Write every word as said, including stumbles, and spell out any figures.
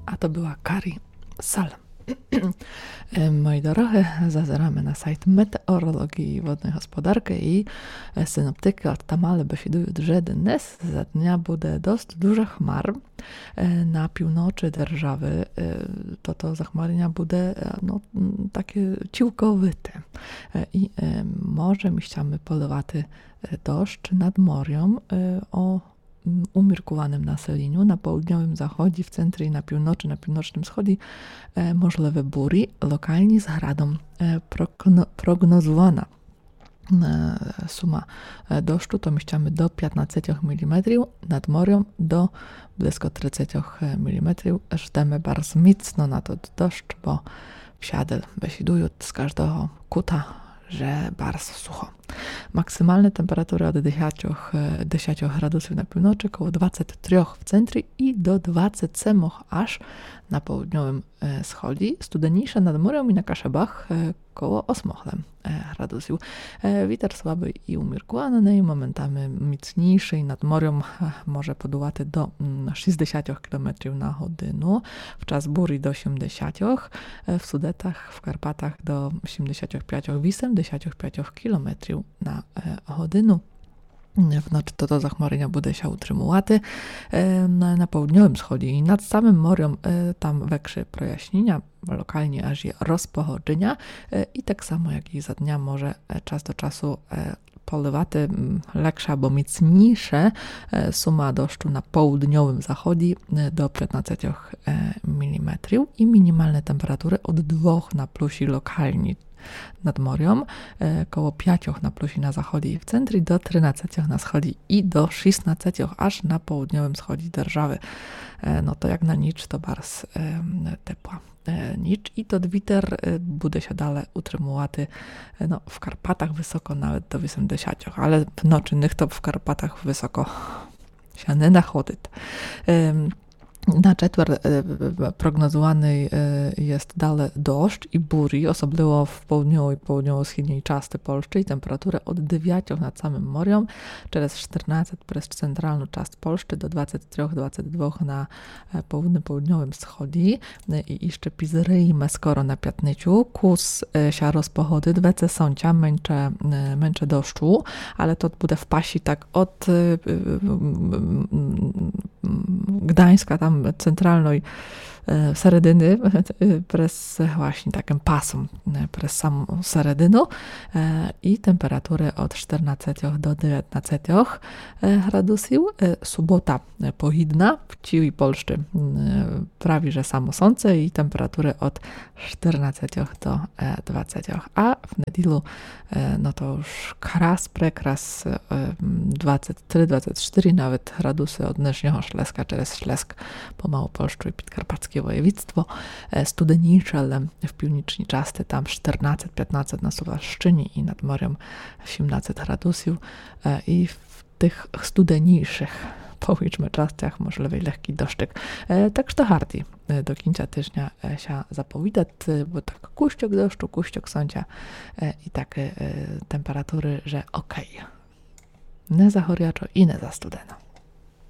А то была Карі Салем. Е, мої дорогы, зазераме на сайт метеоролоґії і водної господаркы і, е, синоптикы одтамале бесідуют, же днес за дня буде дост дуже хмар. Е, на півночы державы, е, тото захмарня буде, е, но, м, таке цілковите. Е, і, е, може місцями поливати, е, дождж над морьом, е, о м, уміркуваным населеню. На поудньовым заході, в центрі і на півночы, на півночным сході, е, можливы бурі, локалні з градом. Е, прокно-, прогнозувана, е, сума, е, дождю то місцями до пятнадцятьох міліметрів, над морьом до близько тридцятьох міліметрів. Ждеме барз міцно на тот дождж, бо всяды бесідуют, з каждого кута же барз сухо. Максималны температуры од десятьох, е, десятьох градусів на півночы, коло двадцять трьох в центрі і до двадцять семох аж на поудньовым, е, сході. Студенійше над морьом і на Кашебах, е, коло осьмох лем, е, градусів. Е, вітер слабый і уміркуваный, моментами міцнійшый. Над морьом, е, може подувати до, м, шістдесятьох кілометрів на годину, в час бурі до сімдесятьох, е, в Судетах, в Карпатах до сімдесятьох пятьох, вісемдесятьох пятьох кілометрів на, е, годину. Вночы тото захмарня буде ся утримувати, е, на, на поудньовым сході і над самым морьом, е, там векше проясніня, локалні аж і розпогоджыня, е, і так само, як і за дня, може, е, час до часу, е, поливати, м, легше або міцнійше, е, сума дождю на поудньовым заході, е, до пятнадцятьох, е, міліметрів і мінімалны температуры од двох на плюсі локалні над морьом, е, коло пятьох на плюсі на заході і в центрі, до тринадцятьох на сході і до шістнадцятьох аж на поудньовым сході державы. Е, но то як на ніч, то барз, е, тепла, е, ніч. І тот вітер, е, буде ся дале утримувати, е, но, в Карпатах высоко навет до вісемдесятьох, але вночы ніхто в Карпатах высоко ся не находит. Ем, на четвер, е, прогнозуваный, е, єст дале дождж і бурі, особливо в поудньовій, поудньово-східній части Польщы і температуры од девятьох над самым морьом, через штернадцять през централну част Польщы до двадцять трьох, двадцять двох на, е, поудньово-поудньовым сході, е, і іщы пізрийме скоро на пятницю, кус, е, ся розпогодит, веце сонця, менше, е, менше дождю, але то буде в пасі так од, е, м, м, Гданьска, там централной, е, середины, е, през власні такым пасом, е, през саму середину, е, і температуры од штернадцятьох до девятнадцятьох, е, градусів. Е, субота, е, погідна, в цілій Польщы, м, е, праві же само сонце і температуры од штернадцятьох до, е, двадцятьох. А в неділю, е, но то уж крас, прекрас, е, м, двадцять три, двадцять штыри навет градусы од нынішнього Шлеска через Шлеск по Малопольщу і Підкарпатське воєвідство. Е, студенійше, але в північній части там штернадцять, пятнадцять на Сувалщыні і над морьом сімнадцять градусів. Е, і в тых студенійшых, повіджме, частях можливый легкій дождик. Е, так што гарді, е, до кінця тыжня, е, ся заповідат, е, бо так кущок дождю, кущок сонця, е, і такы, е, температуры, же окей. Не за горячо і не за студено.